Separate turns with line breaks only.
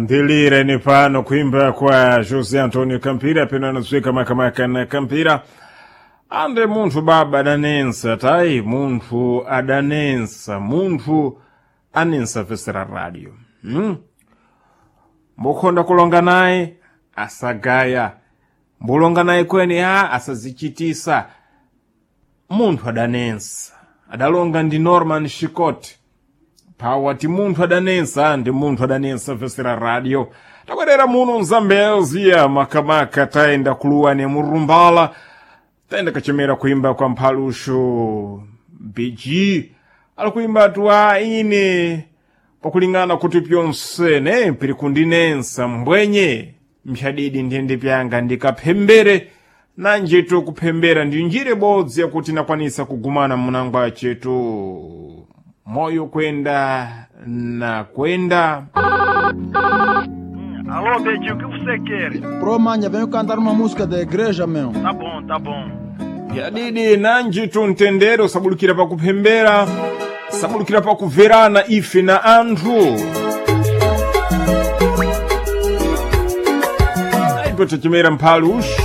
Ndilire ni pano kuimba kwa José Antonio Campira peno anadziwika makamaka na Campira ande munthu baba adanensa tayi munthu adanensa munthu anensa vesera radio Mbukhonda kulonga naye asagaya, mbulonga naye kweni a asazichitisa. Munthu adanensa adalonga ndi Norman Shikot pawa ti munthu adanensa ndi munthu adanensa vesera radio. Tabwerera muno mzambezia makamaka tayenda kuluwa ne murumbala, tayenda kachemera kuimba kwa mphaluxo BG ali kuimba tu a ine pakulingana kuti pyonse ne piri kundinensa mbwenye mphadidi ndiyende pyanga ndikaphembere nanjetu kuphembera ndi njira ibodzi yakuti nakwanisa kugumana munangwa chetu moyo kwenda na kwenda.
Alô, Betinho, o que você quer?
Pro, manha, venho cantar uma música da igreja, meu.
Tá bom, tá bom.
Yadidi nanjitu mtendere usabulukira pakuphembera, sabulukira pakuverana ife na anthu. Aipo tachimera mphalu ush.